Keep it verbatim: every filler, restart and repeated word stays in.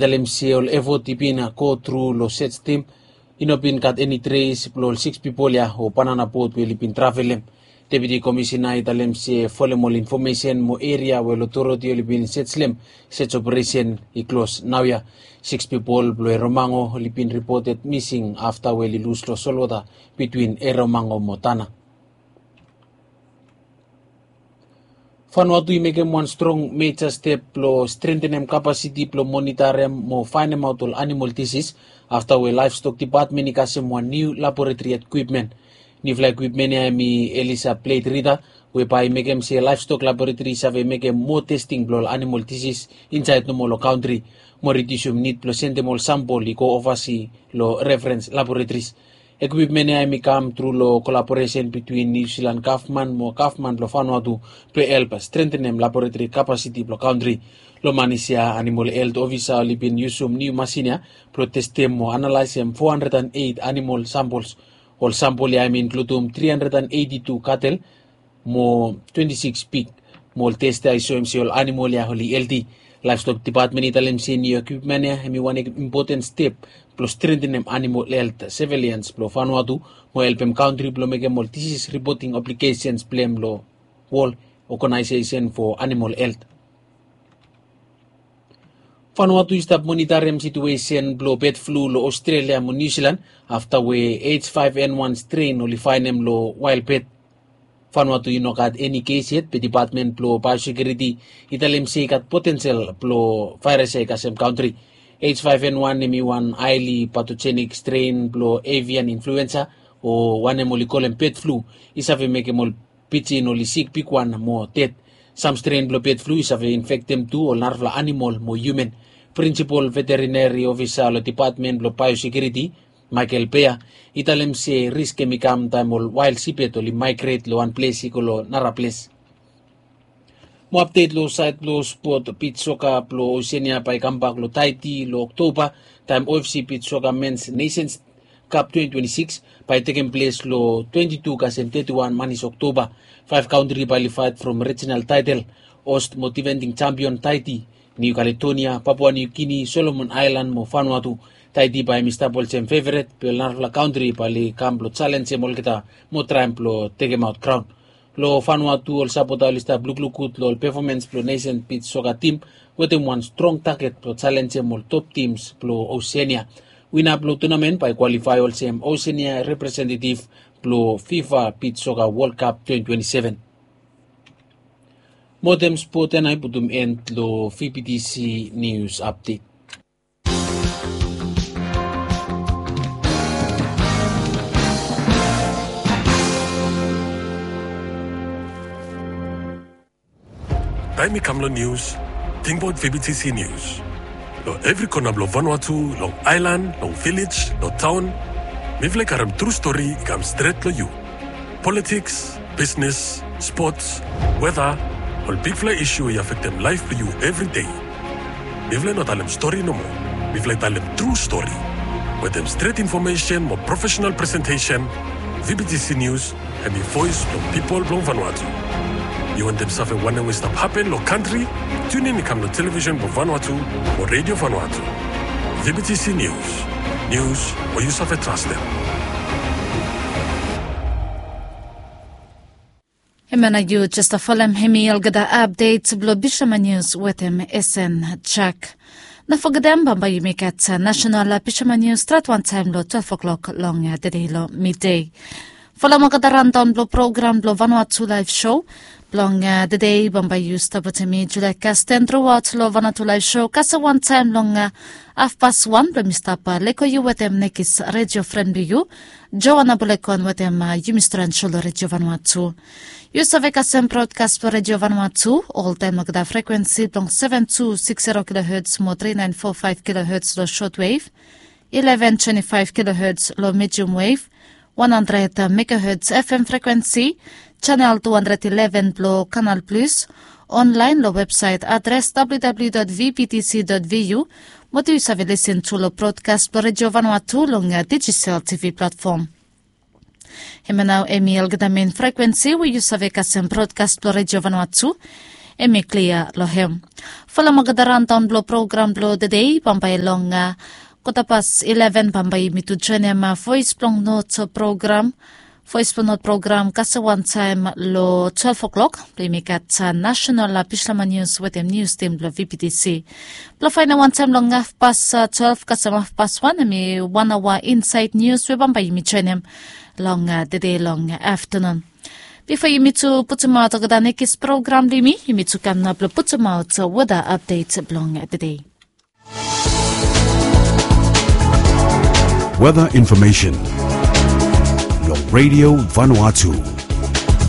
Talem se ol efot i bin go tru long sej tim i no bin gat eni tres blong ol siks pipol ya o banana bot we oli bin travelem. Deputi komisina i talem se folem ol infomesen mo eria we ol otoriti oli bin sejlem, sej operesen i klos naoia. Siks pipol blong eromango oli bin ripoted mising afta we oli lus long solwota bitwin eromango mo tana. Vanuatu i mekem wan strong meja step blong strentenem kapasiti blong monitarem mo faenemaot ol animol disis afta we laevstok dipatmen i kasem wan niu laboretri ekwipmen. Niufala ekwipmen ya hem i elisa pleit rida we bae i mekem se laevstok laboretri i save mekem moa testing blong ol animol disis insaed nomo long kantri, mo ridiusim nid blong sendem ol sampol i go ovasi long referens laboretris. Ekwipmen ya hem i kam tru long kolaboresen bitwin niu silan gavman mo gavman blong vanuatu blong help strentenem laboretri kapasiti blong kantri. Long manis ya animol helt ofisa oli bin yusum niu masin ya blong testem mo analaesem fo handred an eit animol sampols. Ol sampol ya hem i inkludum tri handred an eiti tu katel mo twenti sikis pik. Mo ol tes ya i soem se ol animol ya oli helti. Laevstok dipatmen i talem se niu ekwipmen ya hem i wan impoten step blong strentenem animol helt sevilians blong vanuatu mo helpem kantri blong mekem ol disis ripoting obligesens blong hem long wol ogenaesesen fo animol helt. Vanuatu i stap monitarem situesen blong bed flu long Australia mo Niu Silan afta we H five N one stren oli faenem long wael bed. Vanuatu i no gat eni kes yet be dipatmen blong biosekiuriti i talem se i gat potensel blong vaeras ya i kasem kantri. H five N one hem i wan haeli patojenik stren blong avian influensa o wanem oli kolem bed flu i save mekem ol pijin oli sik bigwan mo ded. Sam stren blong bed flu i save infektem tu ol narafala animol mo hiuman. Prinsipol veterineri ofisa long dipatmen blong biosekiuriti Michael Bea i talem se risk hem i kam taem ol wael sibet oli maegret long wan ples i go long nara ples. Mo apdet long saed blong spot, bit soka blong Osenia bae i kambak long Taiti long Oktoba taem O F C bit soka mens Nations Cup twenty twenty-six bae i tekem ples long twenty-two kasem thirty-one manis Oktoba. Faef kantri bae oli faet from rijinal taetel, host mo difending champion Taiti, Niu Kaledonia, Papua Niu Gini, Solomon Aelan mo Vanuatu. Taiti bae hem i stap olsem feveret be ol narafala kantri bae oli kam blong jalenjem olgeta mo traem blong tekemaot kraon. Long Vanuatu ol sapota oli stap lukluk gud long ol pefomens blong nesen bit soka tim wetem wan strong taget blong jalenjem ol top tims blong Osenia. Wina blong tunamen bae i kwalifae olsem Osenia representetiv blong FIFA bit soka Wol Kap twenty twenty-seven. Mo wetem spot ya nao i putum en long V B T C Nius Apdet. Taem i kam long nius, tingbaot V B T C Nius. Long evri kona blong Vanuatu, long aelan, long vilej, long taon, mifala i karem tru stori i kam stret long yu. Politiks, bisnes, spots, weta, ol bigfala isu i afektem laef blong yu evri dei. Mifala i no talem stori nomo. Mifala i talem tru stori. Wetem stret infomesen mo profesenal presentesen, V B T C Nius hem i voes blong pipol blong Vanuatu. Yu wantem save wanem we i stap hapen long kantri? Tiunin i kam long televisen blong Vanuatu mo Redio Vanuatu. V B T C Nius. Nius we yu save trastem. Hemia nao yu jes folem hemi olgeta apdet blong Bishaman Nius wetem Esen Jak. No fogetem bambae yumi gat nasenal Bishaman Nius stret wantaem long twelef klok long tede long midei. Folem olgeta randaon blong program blong Vanuatu Laef Sho blong tede. Bambae yu stap wetem mi Julia Kasten truaot long Vanuatu Laef Sho kasem wantaem long hafpas wan blong mi stap lego yu wetem nekis redio fren blong yu, Joana Bulekon wetem yumi stran sho long Redio Vanuatu. Yu save kasem brodkas blong Redio Vanuatu oltaem long olgeta frekwensi blong seven two six zero kilohertz mo three nine four five kilohertz long shortwave, eleven twenty-five kilohertz long medium wave, one hundred megahertz F M frekwensi, channel two hundred eleven blong Kanal Plus, online long websaet adres W W W dot V B T C dot V U, mo tu yu save lisin tu long brodkas blong Redio Vanuatu long dijital T V platfom. Hemia nao hemi olgeta mein frekwensi we yu save kasem brodkas blong Redio Vanuatu. Em i klia long hem. Folem olgeta raondaon blong program blong tedei bambae long kota pas ileven bambae yumi tu joenem vois blong not program. Vois blong not program kasem wantaem long twelve o'clock blong yumi gat nasenal bislama nius wetem nius tim blong vptc. Blong faenem wantaem long haf pas twelve kasem haf pas wan em i wan aoa insaed nius we bambae yumi joenem long tedei long aftanun. Bifo yumi tu putumaot olgeta nekis program blong yumi, yumi tu kam nao blong putumaot weda apdet blong tedei. Weather information long Radio Vanuatu.